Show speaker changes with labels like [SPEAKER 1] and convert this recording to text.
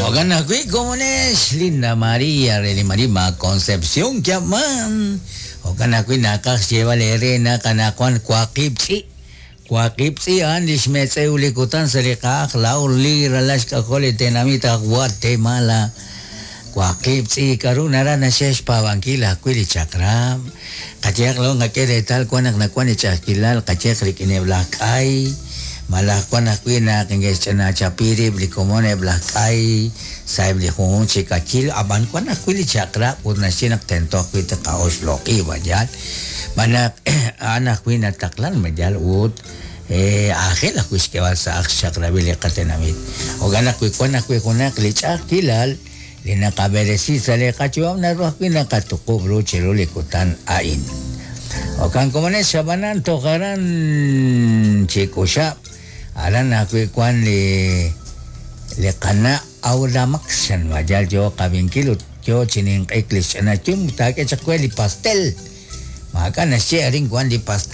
[SPEAKER 1] Jo'kan ajwi' komonex Linda María re li Marima Concepción Kiab'man. Jo'kan ajwi' naqaj xyeeb'al eere naq anaqwan waqib' tz'i'. Waqib' tz'i' a'an li xmetz'ew li kutan sa' li qa'aj laa'o li ralal xk'ajol li tenamit aj Guatemala. Waqib' tz'i' k'aru naraj naxye xpaab'ankil ajwi' li chaq'rab'. Qayehaq laa'o nqak'e reetal wan naq nawan li ch'a'ajkilal qayehaq rik'ineb' laj k'ay, malaj wan ajwi' naq neke'xch'anachapi rib' li komon eb' laj k'ay sa'eb' li junjunq chi k'ayil, ab'an wan ajwi' li chaq'rab' ut naxye naq tento ajwi' tqa'oxloq'i ma yaal. Xb'aan naq a'an ajwi' nataqlan ma yaal ut aajel ajwi' xk'eeb'al sa' ajl xchaq'rab'il li qatenamit. Jo'kan naq wi wan ajwi' junaq li ch'a'ajkilal li naqab'eresi sa' li qayu'am naru ajwi' naqatuqub' ru chiru li kutan a'in. Jo'kan komonex ab'anan toj aran chi k'uxab' aran ajwi' wan li li qana' Aura Max chan ma yaal yoo qab'inkil ut yoo chi ninq'ik li xch'ina yum taak'e chaq we li pastel. Maak'a' naxye arin wan li pastel.